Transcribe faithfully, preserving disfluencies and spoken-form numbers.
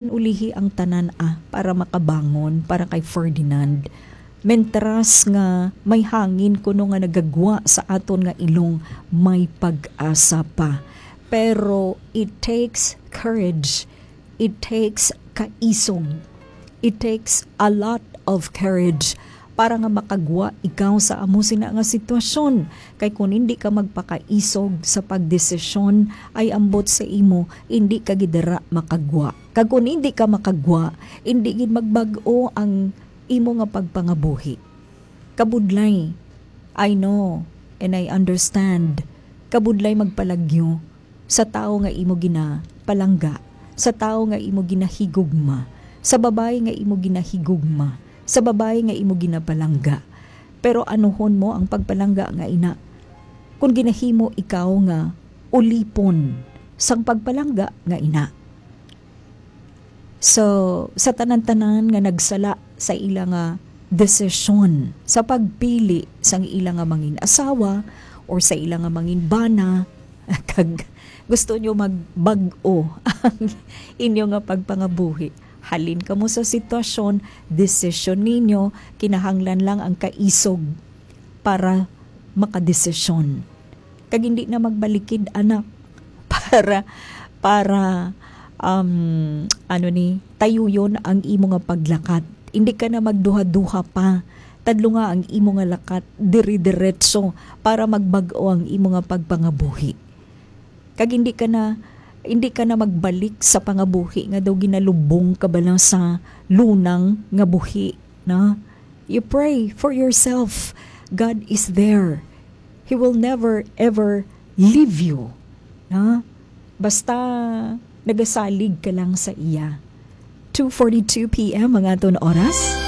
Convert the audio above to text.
ulihi ang tanan, ah, para makabangon, para kay Ferdinand. Mentras nga may hangin kuno nga nagagwa sa aton nga ilong, may pag-asa pa. Pero it takes courage. It takes kaisog. It takes a lot of courage para nga makagwa ikaw sa amo sina nga sitwasyon. Kay kun hindi ka magpakaisog sa pagdesisyon, ay ambot sa imo, hindi ka gid dira makagwa. Kag kun hindi ka makagwa, hindi gid magbag-o ang imo nga pagpangabuhi. Kabudlay. I know and I understand. Kabudlay magpalagyo sa tawo nga imo ginapalangga, sa tawo nga imo ginahigugma, sa babayi nga imo ginahigugma, sa babayi nga imo ginapalangga. Pero anuhon mo ang pagpalangga nga ina, kung ginahimo ikaw nga ulipon sang pagpalangga nga ina. So, sa tanan-tanan nga nagsala sa ila nga desisyon sa pagpili sang ila nga mangin asawa or sa ila nga mangin bana, kag gusto nyo magbag-o ang inyo nga pagpangabuhi, halin kamo sa sitwasyon, desisyon ninyo, kinahanglan lang ang kaisog para makadesisyon. Kag hindi na magbalikid, anak, para, para, um, ano ni, tayuyon ang imo nga paglakat. Hindi ka na magduha-duha pa. Tadlunga ang imo nga lakat, dire-diretso para magbag-o ang imo nga pagpangabuhi. Kag hindi ka na, hindi ka na magbalik sa pangabuhi nga daw ginalubong ka bala sa lunang nga buhi, na? You pray for yourself. God is there. He will never ever leave you, na? Basta nagasalig ka lang sa iya. Two forty-two p m ang aton oras.